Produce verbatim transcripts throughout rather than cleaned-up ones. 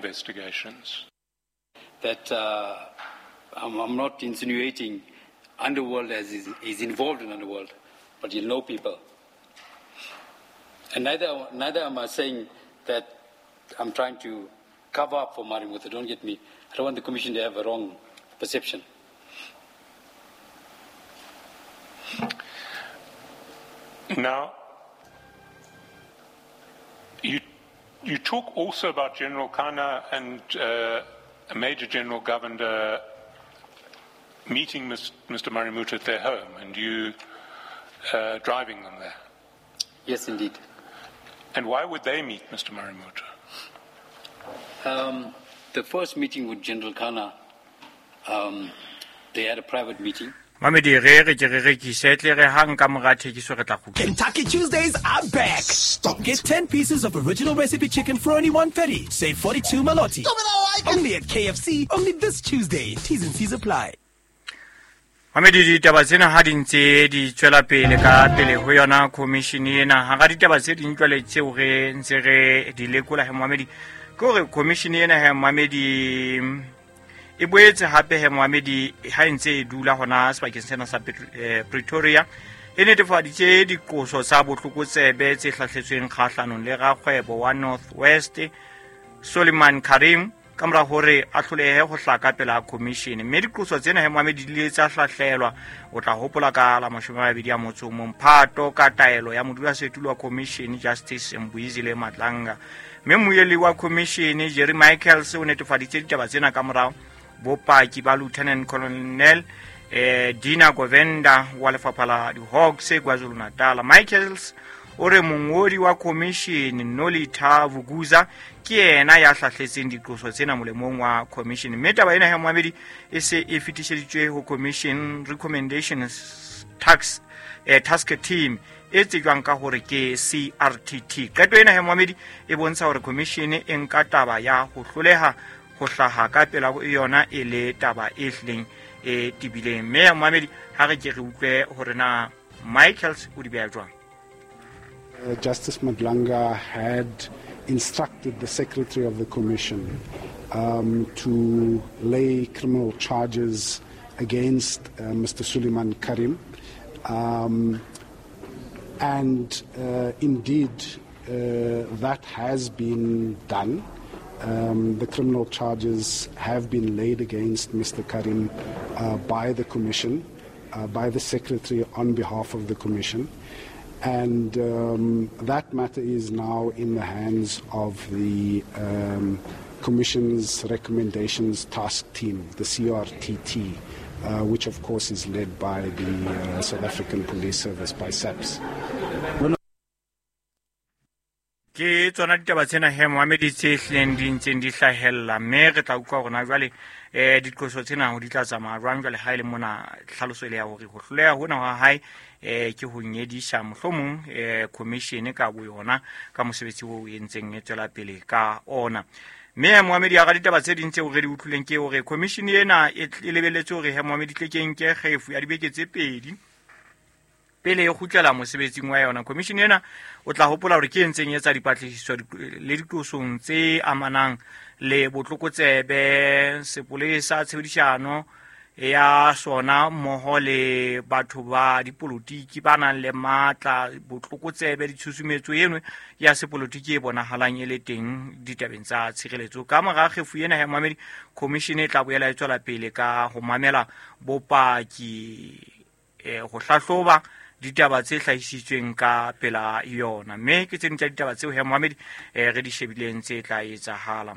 investigations. That uh, I'm, I'm not insinuating underworld as is, is involved in underworld, but you know people. And neither, neither am I saying that I'm trying to cover up for Marimuthu. Don't get me. I don't want the Commission to have a wrong perception. Now, you, you talk also about General Khanna and uh, Major General Govender meeting Mister Marimuthu at their home and you uh, driving them there. Yes, indeed. And why would they meet Mister Marimuthu? Um, the first meeting with General Khanna, um, they had a private meeting. Mamedi re re ke re rekise tle re hang ka mora thekiso re tla kgutla. Kentucky Tuesdays are back. Stop. Get ten pieces of original recipe chicken for only one thirty. Save forty-two maloti. Stop it, I like it. Only at K F C, only this Tuesday. T's and C's apply. Mamedi ditaba tsena ha di ntse di tswela pele ka pele ho yona commission ena. Hara ditaba tse ding jwale tseo re ntse re di lekola he Mamedi, ke hore commission ena he Mamedi e boetse hape he Mohamedi ha e ntse e dula hona sebakeng sena sa Pretoria e netefaditse diqoso tsa botlokotsebe tse hlahletsweng kgahlanong le rakgwebo wa North West Suleiman Karim ka mora hore a hlolehe ho hlaka pela commission. Mme diqoso tsena he Mohamedi di ile tsa hlahlelwa, o tla hopola ka la mashome a mabedi a motso o mong Phato ka taelo ya modulasetulo wa commission Justice Mbuyisile Madlanga. Mme mmuelli wa commission Jerry Michaels o netefaditse ditaba tsena ka morao bopaki ba Lieutenant Colonel eh, Dina Govenda wa lefapha la di-Hawks KwaZulu-Natal. Michaels o re mongodi wa commission Nolitha Vuguza ke yena ya hlahletseng diqoso tsena molemong wa commission. Mme taba ena ya Mohamedi e se e fetiseditswe ho Commission Recommendations Tax eh, Task Team e tsejwang ka hore ke C R T T. Qeto ena ya Mohamedi e bontsha hore commission e nka taba ya ho hloleha ho hlaha ka pela yona e le taba e hlileng e tebileng. Mme Mohamedi ha re ke re utlwe hore na Michaels o di beha jwang. Uh, Justice Madlanga had instructed the Secretary of the Commission um, to lay criminal charges against uh, Mister Suleiman Karim. Um, and uh, indeed, uh, that has been done. Um, the criminal charges have been laid against Mister Karim uh, by the Commission, uh, by the Secretary on behalf of the Commission. And um, that matter is now in the hands of the um, Commission's Recommendations Task Team, the C R T T, uh, which of course is led by the uh, South African Police Service, by S A P S. Ke tsona ditaba tsena he Mohamedi tse hlileng di ntseng di hlahella, mme re tla utlwa hore na jwale eh diqoso tsena ho di tla tsamaya jwang jwale ha e le mona tlhaloso e le ya hore ho hloleha hona ha hae eh ke ho nyedisa mohlomong eh commission ka bo yona ka mosebetsi oo e ntseng e tswela pele ka ona. Mme Mohamedi a ra ditaba tse ding tseo re di utlwileng ke hore commission ena e lebelletse hore he Mohamedi tle ke nke kgefu ya dibeke tse pedi pele e kgutlela mosebetsing wa yona. Commission ena o tla hopola hore ke e ntseng e etsa dipatlisiso le diqosong tse amanang le botlokotsebe, sepolesa, tshebedisano ya sona mmoho le batho ba dipolotiki ba nang le matla, botlokotsebe, ditshusumetso eno ya sepolotiki e bonahalang e le teng ditabeng tsa tshireletso. Ka mora kgefu ena ya Mohamedi, commission e tla boela e tswela pele ka ho mamela bopaki, eh, ho hlahloba ditaba tse hlahisitsweng ka pela yona. Mme ke tse ding tsa ditaba tseo he Mohamedi eh, re di shebileng tse tla etsahala.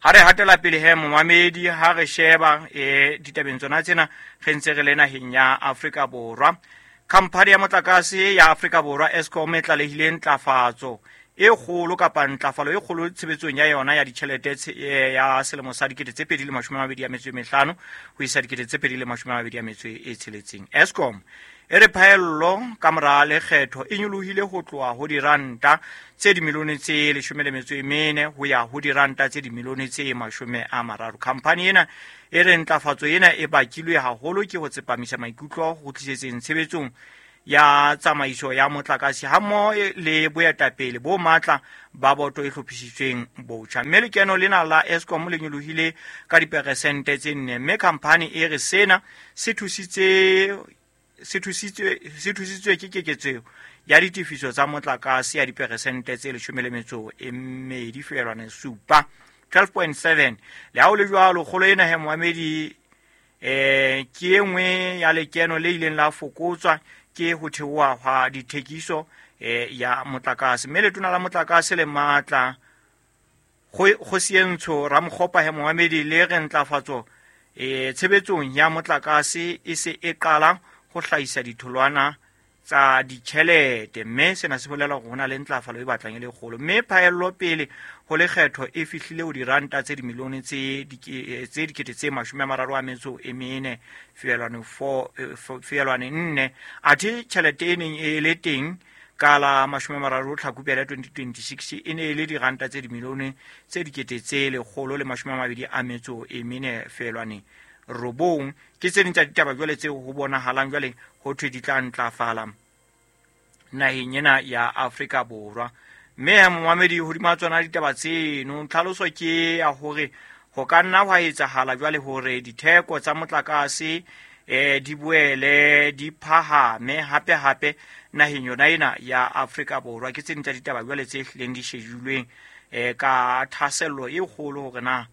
Ha re hatela pele he Mohamedi, ha re sheba eh, ditabeng tsona tsena re ntse re le naheng ya Afrika Borwa. Khamphani ya motlakase ya Afrika Borwa Eskom e tlalehile ntlafatso e kgolo kapa ntlafalo e kgolo tshebetsong ya yona ya ditjhelete ya selemo sa dikete tse pedi le mashome a mabedi a metso e mehlano ho isa dikete tse pedi le mashome a mabedi a metso e tsheletseng. Eskom e re phaello ka mora lekgetho e nyolohile ho tloha ho diranta tse dimilione tse leshome le metso e mene ho ya ho diranta tse dimilione tse mashome a mararo. Khamphani ena e re ntlafatso ena e bakilwe haholo ke ho tsepamisa maikutlo ho tlisetseng tshebetsong ya tsamaiso ya motlakase hammoho le boetapele bo matla ba boto e hlophisitsweng botjha. Mme lekeno lena la Eskom le nyolohile ka diperesente tse nne, mme khamphani e re sena se thusitse se thusitswe se thusitswe ke keketseho ya ditefiso tsa motlakase ya diperesente tse leshome le metso e mmedi feelwane supa, twelve point seven. Le ha ho le jwalo, kgolo ena he moamedi eh ke e nngwe ya lekeno le ileng la fokotswa ke ho theoha hwa dithekiso eh ya motlakase. Mme letona la motlakase le matla Kgosientsho Ramokgopa he moamedi le re ntlafatso eh tshebetsong ya motlakase e se e qala ho hlahisa ditholwana tsa ditjhelete, mme sena se bolela hore ho na le ntlafalo e batlang e le kgolo. Mme phaello pele ho lekgetho e fihlile ho diranta tse dimilione tse tse dikete tse mashome a mararo a metso e mene feelwane four feelwane nne, athe tjhelete e neng e le teng ka la mashome a mararo Tlhakubele twenty twenty-six e ne e le diranta tse dimilione tse dikete tse lekgolo le mashome a mabedi a metso e mene feelwane robong. Ke tse ding tsa ditaba jwale tseo ho bonahalang jwale ho thwe di tla ntlafala naheng ena ya Afrika Borwa. Mme momamedi hodima tsona ditaba tseno, tlhaloso ke ya hore ho ka nna hwa etsahala jwale hore ditheko tsa motlakase eh di boele di phahame hape hape naheng yona ena ya Afrika Borwa. Ke tse ding tsa ditaba jwale tse hlileng di shejulweng eh ka thahasello e kgolo hore na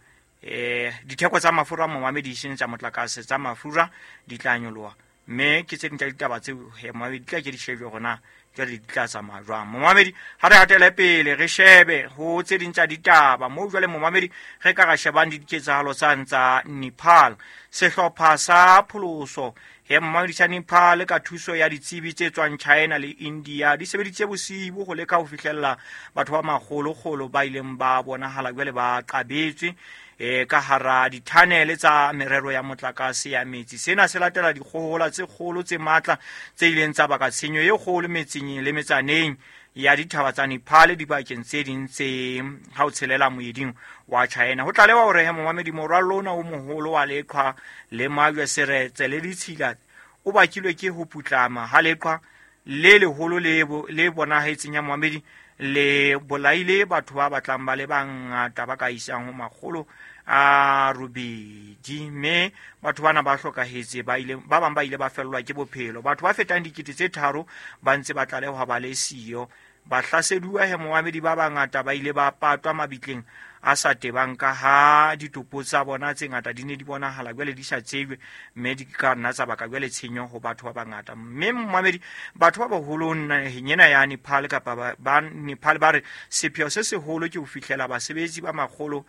eh ditheko tsa mafura momamedi e seng tsa motlakase tsa mafura di tla nyoloha. Mme ke tse ding tsa ditaba tseo he momamedi di tla ke di shejwe hore na jwale di tla tsamaya jwang. Momamedi ha re hatele pele re shebe ho tse ding tsa ditaba moo jwale momamedi re ka ra shebang diketsahalo tsa tsa Nepal. Sehlopha sa pholoso he momamedi sa Nepal ka thuso ya ditsebi tse tswang China le India di sebeditse bosibu ho leka ho fihlella batho ba makgolokgolo ba ileng ba bonahala jwale ba qabetswe e ka hara dithanele tsa merero ya motlakase ya metsi. Sena se latela dikgohola tse kgolo tse matla tse ileng tsa baka tshenyo e kgolo metseng le metsaneng ya dithaba tsa Nepal dibakeng tse ding tse ha o tshelela moeding wa China. Ho tlalewa hore he momamedi morwallo ona o moholo wa leqhwa le majwe seretse le ditshila o bakilwe ke ho putlama ha leqhwa le leholo le le bonahetseng ya momamedi le bolaile batho ba batlang ba le bangata ba ka isang ho makgolo a robedi, mme batho bana ba hlokahetse ba ile ba bang ba ile ba fellwa ke bophelo. Batho ba fetang dikete tse tharo ba ntse ba tlalehwa ba le siyo. Bahlaseduwa he momamedi ba bangata ba ile ba patwa mabitleng a sa tebang ka ha ditopo tsa bona tse ngata di ne di bonahala jwale di sa tsejwe, mme di ka nna tsa baka jwale tshenyo ho batho ba bangata. Mme momamedi batho ba baholo naheng ena ya Nepal kapa ba Nepal ba re sepheo se seholo ke ho fihlela basebetsi ba makgolo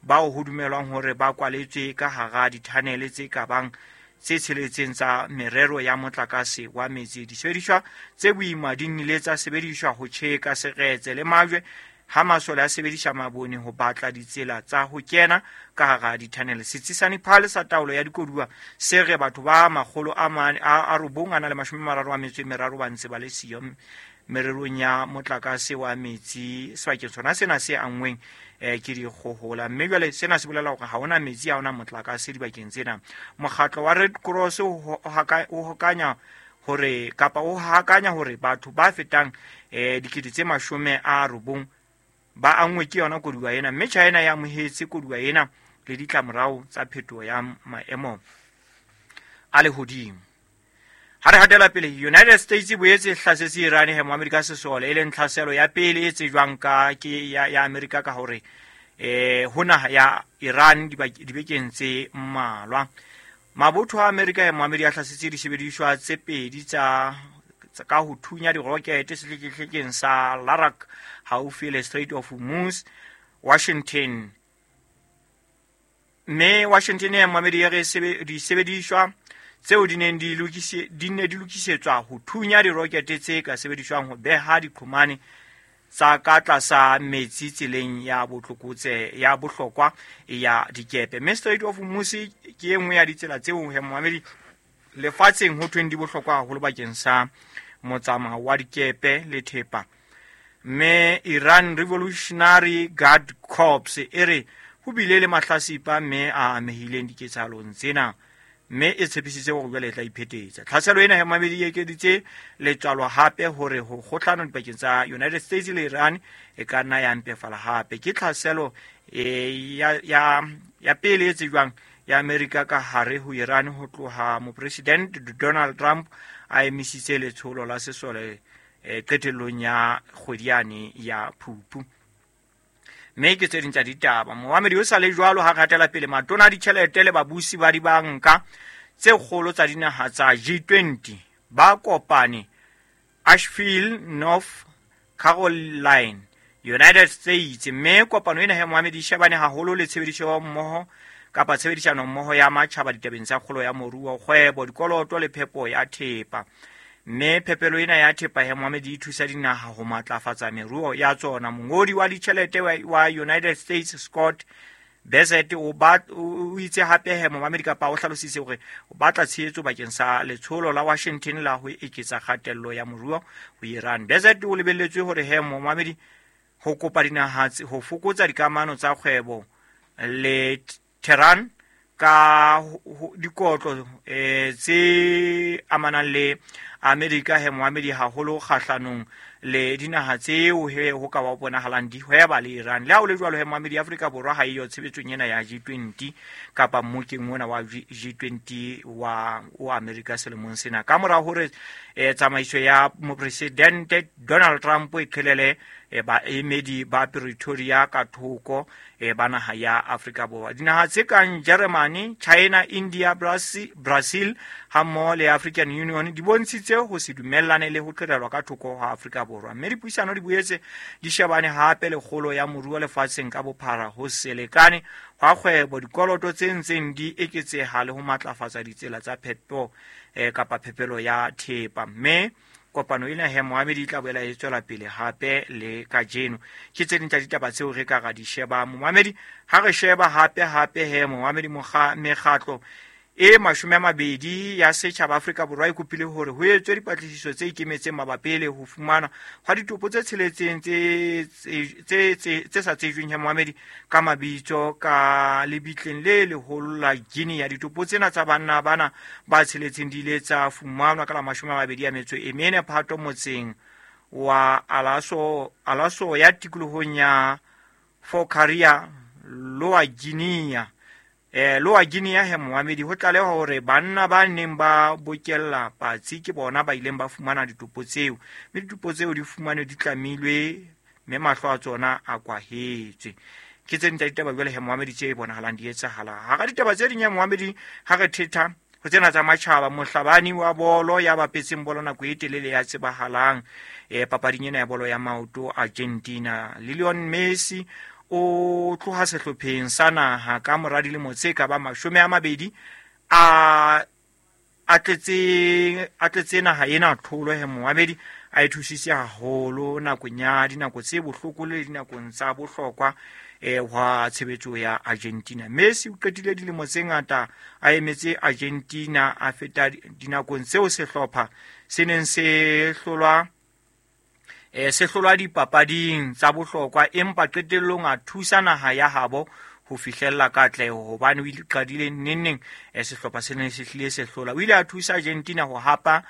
bao ho dumelwang hore ba kwaletswe ka hara dithanele tse ka bang tse tsheletseng tsa merero ya motlakase wa metsi. Disebediswa tse boima di nnile tsa sebediswa ho tjheka seretse le majwe ha masole a sebedisa mabone ho batla ditsela tsa ho kena ka hara dithanele. Setsi sa Nepal sa taolo ya dikoduwa se re batho ba makgolo a mane a robong a na le mashome a mararo a metso e meraro ba ntse ba le siyo mererong ya motlakase wa metsi sebakeng sona sena se anngweng eh ke dikgohola. Mme jwale sena se bolela hore ha hona metsi, ha hona motlakase dibakeng tsena. Mokgatlo wa Red Cross o hokanya hore kapa o hakanya hore batho ba fetang eh dikete tse mashome a robong ba anngwe ke yona koduwa ena. Mme China ya amohetse koduwa ena le ditlamorao tsa phetoho ya maemo a lehodimo. Ha re hatela pele, United States e boetse e hlasetse Iran he mo Amerika sesole, e leng tlhaselo ya pele e tsejwang ka ke ya, ya Amerika ka hore eh ho naha ya Iran dibekeng tse mmalwa. Mabotho a Amerika he mo Amerika a hlasetse disebediswa tse pedi tsa ka ho thunya dirokete sehlekehlekeng sa Larak haufi le Strait of Hormuz. Washington mme Washington ya mo Amerika re disebediswa tseo di neng di lokise di ne di lokisetswa ho thunya dirokete tse ka sebediswang ho beha diqhomane tsa ka tlasa metsi tseleng ya botlokotse ya bohlokwa ya dikepe. Mme Strait of Hormuz ke e nngwe ya ditsela tseo he momamedi lefatsheng ho thweng di bohlokwa haholo bakeng sa motsamao wa dikepe le thepa. Mme Iran Revolutionary Guard Corps e re ho bile le mahlasipa mme a amehileng diketsahalong tsena. Mme e tshepisitse hore jwale e tla iphetetsa. Tlhaselo ena ya mamedi e ekeditse letswalo hape hore ho kgohlano dipakeng tsa United States le Iran e ka nna ya mpefala hape. Ke tlhaselo e ya ya ya pele e tsejwang ya Amerika ka hare ho Iran ho tloha mopresident Donald Trump a emisitse letsholo la sesole e qetellong ya kgwedi yane ya Phupu. Mme ke tse ding tsa ditaba. Moamedi o sa le jwalo ha ratela pele matona a ditjhelete le babusi ba dibanka tse kgolo tsa dinaha tsa G twenty ba kopane Asheville, North Carolina, United States. Mme kopano ena ya moamedi e shebane haholo le tshebediso mmoho kapa tshebedisano mmoho ya matjhaba ditabeng tsa kgolo ya moruo, kgwebo, dikoloto le phepo ya thepa. Mme phepelo ena ya thepa ya moamedi e thusa dinaha ho matlafatsa meruo ya tsona. Mongodi wa ditjhelete wa United States Scott Bessent o ba o itse hape he moamedi kapa o hlalositse hore o batla tshehetso bakeng sa letsholo la Washington la ho eketsa kgatello ya moruo ho Iran. Bessent o lebelletswe hore he moamedi ho kopa dinaha ho fokotsa dikamano tsa kgwebo le Tehran ka dikotlo eh tse amanang le Amerika he moamedi haholo kgahlanong le dinaha tseo he ho ka ba bonahalang di hweba le Iran. Le ha o le jwalo he moamedi Afrika Borwa ha eyo tshebetsong ena ya G twenty kapa mmokeng ona wa G twenty wa o Amerika selemong sena. Ka mora hore eh, tsamaiso ya mopresidente Donald Trump e qhelele eh, baemedi ba Pretoria ka thoko eh, ba naha ya Afrika Borwa. Dinaha tse kang Germany, China, India, Brazil, Brazil hammoho le African Union di bontshitse ho se dumellane le ho qhelelwa ka thoko ha Afrika Borwa. Mme dipuisano di boetse di shebane hape le kgolo ya moruo lefatsheng ka bophara, ho se lekane hwa kgwebo, dikoloto tse ntseng di eketseha le ho matlafatsa ditsela tsa phepo eh, kapa phepelo ya thepa. Mme kopano ena he moamedi e tla boela e tswela pele hape le kajeno. Ke tse ding tsa ditaba tseo re ka ra di sheba moamedi. Ha re sheba hape hape he moamedi mekgatlo e mashome a mabedi ya setjhaba Afrika Borwa e kopile hore ho etswe dipatlisiso tse ikemetseng mabapi le ho fumana hwa ditopo tse tsheletseng tse tse tse sa tsejweng he moamedi ka mabitso ka lebitleng le leholo la Guinea. Ditopo tsena tsa banna bana ba tsheletseng di ile tsa fumanwa ka la mashome a mabedi a metso e mene Phato motseng wa Alaso Alaso ya tikolohong ya Fokaria Lower Guinea. Eh Lower Guinea he moamedi ho tlaleha hore banna ba neng ba bokella patsi ke bona ba ileng ba fumana ditopo tseo, mme ditopo tseo di fumanwe di tlamilwe mme mahlo a tsona a kwahetswe. Ke tse ding tsa ditaba jwale he moamedi tse bonahalang di etsahala. Hara ditaba tse ding ya moamedi ha re thetha ho tsena tsa matjhaba, mohlabani wa bolo ya bapetseng bolo nako e telele ya tsebahalang eh papading ena ya bolo ya maoto Argentina, Lionel Messi o tloha sehlopheng sa naha ka mora dilemo tse ka ba mashome a mabedi a a tletse a tletse naha ena tlholo he moamedi a e thusitse haholo nakong ya dinako tse bohloko le dinakong tsa bohlokwa eh hwa tshebetso ya Argentina. Messi o qetile dilemo tse ngata a emetse Argentina, a feta dinakong tseo sehlopha se neng se hlolwa eh se hlolwa dipapading tsa bohlokwa, empa qetellong a thusa naha ya habo ho fihlella katleho hobane o ile qadile nenneng eh sehlopha se neng se hlile se hlola. O ile a thusa Argentina ho hapa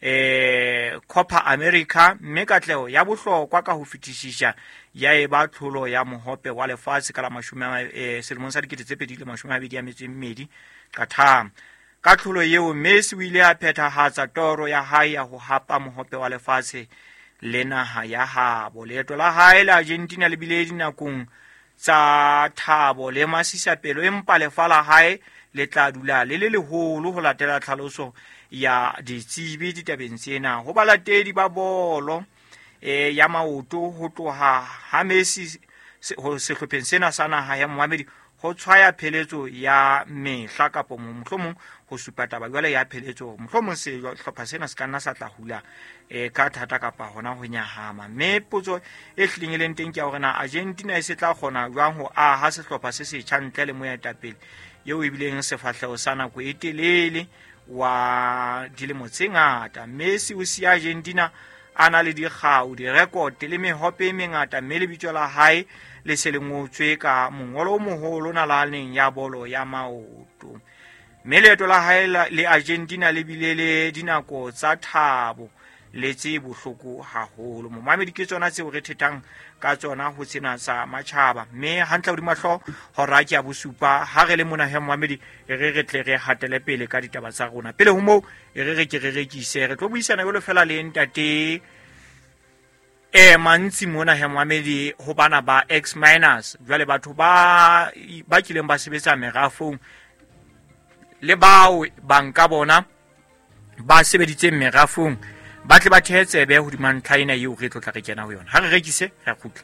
eh Copa America, mme katleho ya bohlokwa ka ho fetisisa ya eba tlholo ya mohope wa lefatshe ka la mashome eh selemong sa dikete tse pedi le mashome a mabedi a metso e mmedi Qatar. Ka tlholo eo Messi o ile a phethahatsa toro ya hae ya ho hapa mohope wa lefatshe le naha ya habo. Leeto la hae la Argentina le bile dinakong tsa thabo le masisapelo, empa lefa la hae le tla dula le le leholo ho latela tlhaloso ya ditsebi ditabeng tsena. Ho balatedi ba bolo eh ya maoto ho tloha ha Messi ho sehlopheng sena sa naha ya moamedi ho tshwaya pheletso ya mehla kapa mohlomong ho supa taba jwale ya pheletso, mohlomong sehlopha sena se ka nna sa tla hula eh ka thata kapa hona ho nyahama. Mme potso e hlileng e leng teng ke ya hore na Argentina e se tla kgona jwang ho aha sehlopha se setjha ntle le moetapele eo e bileng sefahleho sa nako e telele wa dilemo tse ngata. Messi o siya Argentina a na le dikgau, direkote le mehope e mengata, mme lebitso la hae le se le ngotswe ka mongolo o moholo nalaneng ya bolo ya maoto. Mme leeto la hae le Argentina le bile le dinako tsa thabo le tse bohloko haholo. Momamedi ke tsona tseo re thethang ka tsona ho sena sa matjhaba. Mme hantle hodima hlooho hora ke ya bosupa ha re le mona he momamedi e re re tle re hatele pele ka ditaba tsa rona. Pele ho moo e re re ke re rekise re tlo buisana jwalo fela le ntate e mantsi mona he momamedi ho bana ba ex miners. Jwale batho ba ba kileng ba sebetsa merafong le bao banka bona ba sebeditseng merafong ba tle ba thehetsebe hodima ntlha ena eo re tlo tla re kena ho yona. Ha re rekise re kgutla.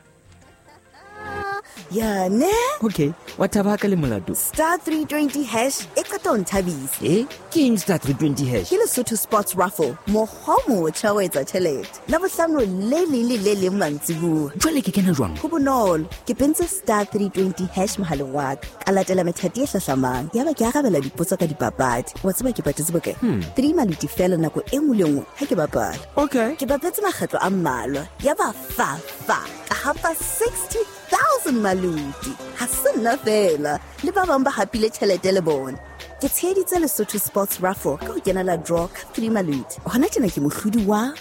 Ya ne? Okay, wa thaba ka le molato. Star three twenty hash e qeta ho nthabisa. Eh, ke eng star three twenty hash? Ke Lesotho Sports Raffle, mokgwa o motjha wa etsa tjhelete. Labohlano le leng le le leng mantsibuya. Jwale ke kena jwang? Ho bonolo, ke pentse star three twenty hash mohaleng wa ka. Ka latela methati e hlahlamang. Yaba ke arabela dipotso ka dipapadi. Wa tseba ke patetse bokae? Hmm. Three maluti fela nako e nngwe le nngwe ha ke bapala. Okay. Ke bapetse makgetlo a mmalwa. Yaba fa fa ka hapa sixty thousand maluti. Ha se nna fela le ba bang ba hapile tjhelete le bona. Ke tsheheditse Lesotho Sports Raffle ka ho kenela draw ka three maluti. Hona tjena ke mohlodi wa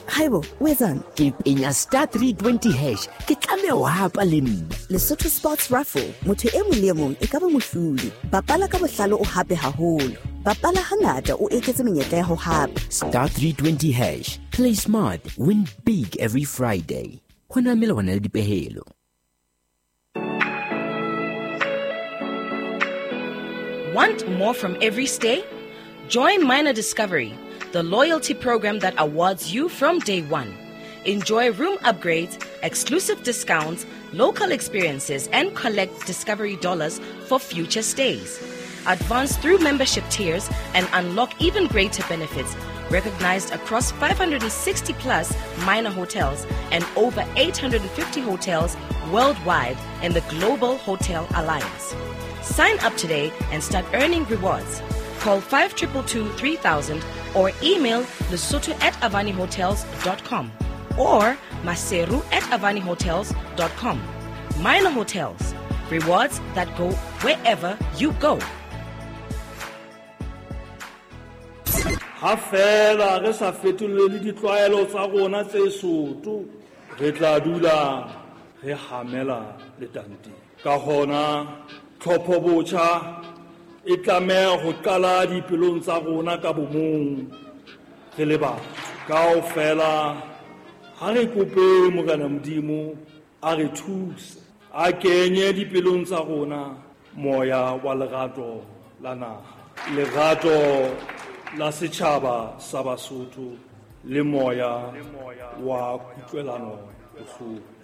Haibo, o etsang? Ke penya star three twenty hash. Ke tlameha ho hapa le nna. Lesotho Sports Raffle, motho e mong le e mong e ka ba mohlodi. Bapala ka bohlale o hape haholo. Bapala hangata o eketse menyetla ya ho hapa. Star three twenty hash. Play smart, win big every Friday. Ho na melawana le dipehelo. Want more from every stay? Join Minor Discovery, the loyalty program that awards you from day one. Enjoy room upgrades, exclusive discounts, local experiences, and collect Discovery dollars for future stays. Advance through membership tiers and unlock even greater benefits, recognized across five hundred sixty plus minor hotels and over eight hundred fifty hotels worldwide in the Global Hotel Alliance. Sign up today and start earning rewards. Call five two two two three thousand or email lesotho at avani hotels dot com or maseru at avani hotels dot com. Minor Hotels, rewards that go wherever you go. Ha fela re sa fetolele ditlwaelo tsa rona tse soto, re tla dula re hamela letanteng. Ka hona tlhopho botjha e tlameha ho qala dipelong tsa rona ka bomong re le batho. Kaofela ha re kope Morena Modimo a re thuse, a kenye dipelong tsa rona moya wa lerato la naha, lerato la setjhaba sa Basotho le moya wa kutlwelano bohloko.